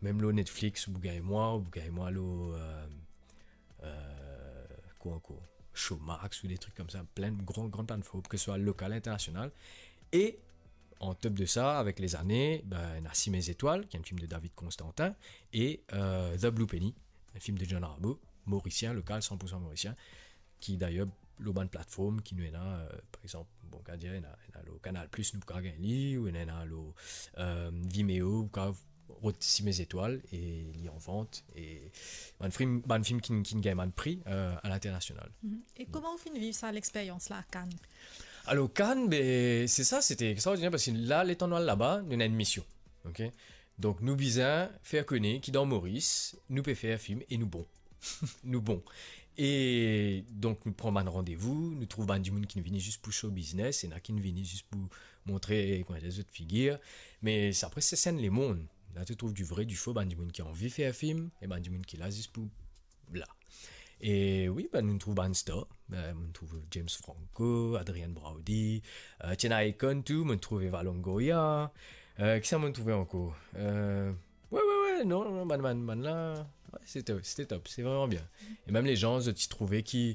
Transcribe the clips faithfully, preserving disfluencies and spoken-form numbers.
mem lor Netflix, ou pou gagn mwa, ou pou gagn mwa lor, euh, euh, kwa ankor, Showmax ou de trik koumsa, plin gran, gran platform, ke swa lokal, internasional. E an top de sa, avek lezane, ben, ena Sime Zetwal, ki enn fim de David Constantin, e, euh, The Blue Penny, enn fim de John Rambo, morisien, lokal, san pour san morisien, ki dayer, lor bann platform ki nou ena, euh, par exanp, bon, kapav dir, ena, ena lor Canal Plus, nou kapav gagn li, ou ena, ena lor, euh, Vimeo, ou kapav rod Sime Zetwal, e li an vant, e bann fim, bann fim ki, ki gagn bann pri, euh, a linternasional. Mhm. E kouma ou finn viv sa, lexperyans la, Cannes? Alor, Cannes, be, se sa, sete extraordiner, parski la, letan nou al laba, nou ena enn mision, ok? Donk, nou bizin fer kone ki dan Moris, nou pe fer fim e nou bon. Nou bon. E donk, nou pran bann randevou, nou trouv bann dimoun ki vini zis pou show business, ena ki vini zis pou montre, kouma dir, zot figir. Me sa, apre, se enn lemonn. La, to trouv di vre, di fo, bann dimoun ki anvi fer fim, e bann dimoun ki la zis pou la. E wi, ben, nou trouv bann star. Ben, nou trouv James Franco, Adrien Brody, euh, ti ena Akon tou, mo trouv Eva Longoria. Euh, kisa mo trouve ankor? Euh, wi, wi, wi, non, non, bann, bann, bann la, wi, se top, sete top, se vreman bien. E mem lezan, zot ti trouve ki,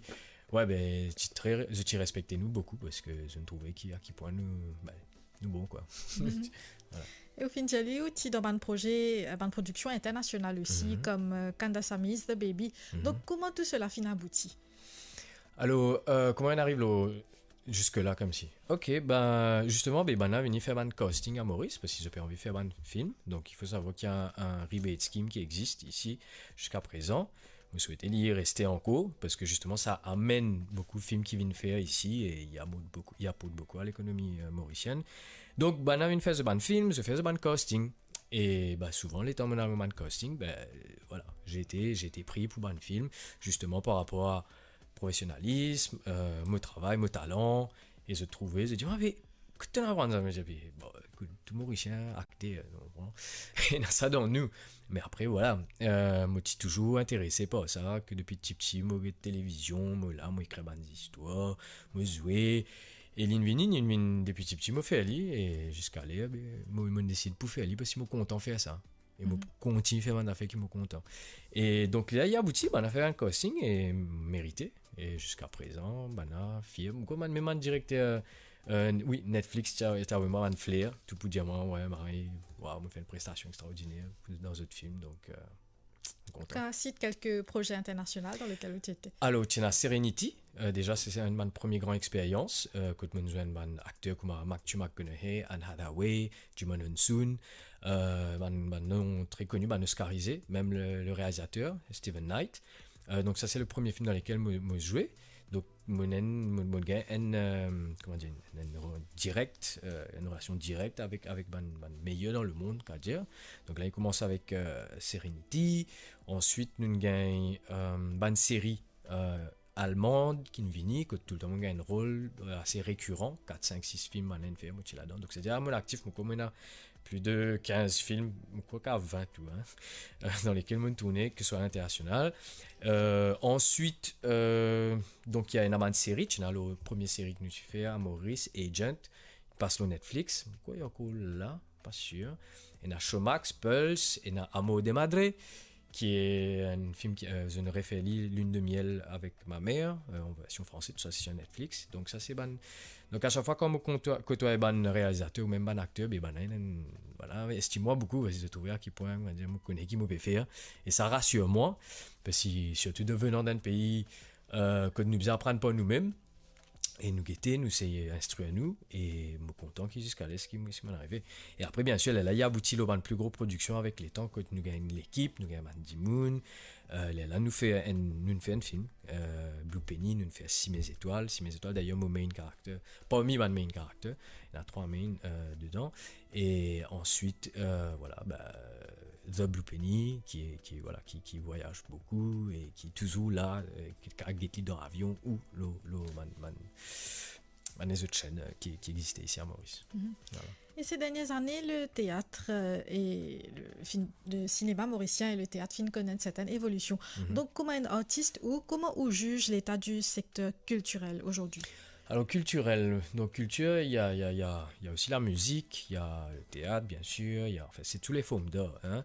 wi, be, ti tre, zot ti respekte nou boukou, parski zot trouve ki, a ki pwin nou, be, nou bon, kwa. Mhm. Vwala. E ou finn dir li, ou ti dan bann proze, euh, bann prodiksion internasional osi, mhm, kom, euh, Kandasamy is the Baby. Mhm. Donk, kouma tou sela finn abouti? Alor, euh, kouma inn ariv lor, ziska la, koumsi? Ok, ben, zisteman, be, bann la vini fer bann casting a Moris, parski zot pe anvi fer bann fim. Donk, il faut savoir qu'il y a un, un rebate scheme qui existe ici jusqu'à présent. Mo swete li reste ankor, parski zisteman, sa amenn boukou fim ki vinn fer isi, e li aport boukou, li aport boukou a lekonomi, euh, morisienn. Donk, bann la vinn fer zot bann fim, zot fer zot bann casting. E, ba, souvan, letan mo al bann casting, be, vwala, zete, zete pri pou bann fim, zisteman, par rapor a profesionalism, euh, mo travay, mo talan, e zot trouve, zot dir, "Ah, me, kot to'nn aprann sa?" Mo dir, "Bon, ekout, tou Morisien, akter, non, bon, ena sa dan nou." Me apre, vwala, euh, mo ti touzour interese par sa, ke depi tipti, mo get televizion, mo la, mo ekrir bann zistwar, mo zwe. E linn vini, linn vinn depi tipti, mo fer li, e ziska ler, be, mo, mo desid pou fer li, parski mo kontan fer sa. E mo, mhm, kontign fer bann zafer ki mo kontan. E donk, la, li abouti, bann la fer enn casting e merite. E ziska prezan, bann la fir. Mo krwar bann, mem bann direkter, euh, wi, Netflix, ti a, ti a avoy mwa bann fler, tou pou dir mwa, wi, Marie, waw, mo fer enn prestasion extraordiner dan zot fim, donk, euh, mo kontan. Kan sit kelke proze internasional dan lekel ou ti ete? Alor, ti ena Serenity, euh, deza, se, se enn bann premie gran experyans, euh, kot mo'nn zwenn bann akter kouma Matthew McConaughey, Anne Hathaway, Djimon Hounsou, euh, bann, bann non tre koni, bann oskarize, mem le, le realizater, Steven Knight. Euh, donk sa, se le premie fim dan lekel mo, mo zwe. Donk, mo ena, mo, mo gagn enn, euh, kouma dir, enn, enn rol direk, euh, enn relasion direk avek, avek bann, bann meyer dan lemond, kapav dir. Donk la, li koumans avek, euh, Serenity. Answit, nou gagn, euh, bann seri, euh, almand ki'nn vini, kot toultan mo gagn enn rol, euh, ase rekiran, kat, sink, sis fim bann la inn fer, mo ti ladan. Donk, setadir, a mo laktif, mo krwar mo ena plis de kinz fim, mo krwar ki a vin tou, hein, euh, dan lekel mo'nn tourne, ke swa a linternasional. Euh, answit, euh, donk, ena bann seri, ti ena le premie seri ki nou ti fer a Moris, Agent, pas lor Netflix, mo krwar li ankor la, pa sir. Ena Showmax, Pulse, ena Amor de Madre, ki enn fim ki, euh, zot inn refer li, Lune de miel avec ma mère, euh, an version française, tou sa se sir Netflix. Donk sa se bann, donk a sak fwa kan mo kontwa-, kotwaye bann realizater oubien bann akter, be bann la, vwala, estim mwa boukou, parski zot trouve a ki pwin, kouma dir, mo kone ki mo pe fer, e sa rasir mwa, parski sirtou de venan dan enn pei, euh, kot nou bizin aprann par noumem, e nou gete, nou seye instrir nou, e mo kontan ki ziska ler ki, ki mo'nn arive. E apre, bien sir, lerla, li abouti lor bann pli gro prodiksion avek letan, kot nou gagn lekip, nou gagn bann dimoun, euh, lerla, nou fer enn, nou fer enn fim, euh, Blue Penny, nou fer Sime Zetwal, Sime Zetwal, dayer, mo main character, parmi bann main character, ena trwa main, euh, dedan, e answit, euh, vwala, ba, The Blue Penny, ki, ki, vwala, ki, ki vwayaz boukou e ki touzour la, euh, ki kapav get li dan avion ou lor, lor bann, bann, bann lezot senn, euh, ki, ki existe isi a Moris. Mhm. Vwala. E se dernie zane, le teat, euh, e le fim, le sinema morisien e le teat finn konn enn sertenn evolision. Mhm. Donk, kouma enn artis, ou kouma ou ziz leta di sekter kiltirel ozordi? Alors, culturel, donc culture, il y a, il y a, il y a, il y a aussi la musique, il y a le théâtre, bien sûr, il y a, enfin, c'est tous les formes d'art, hein.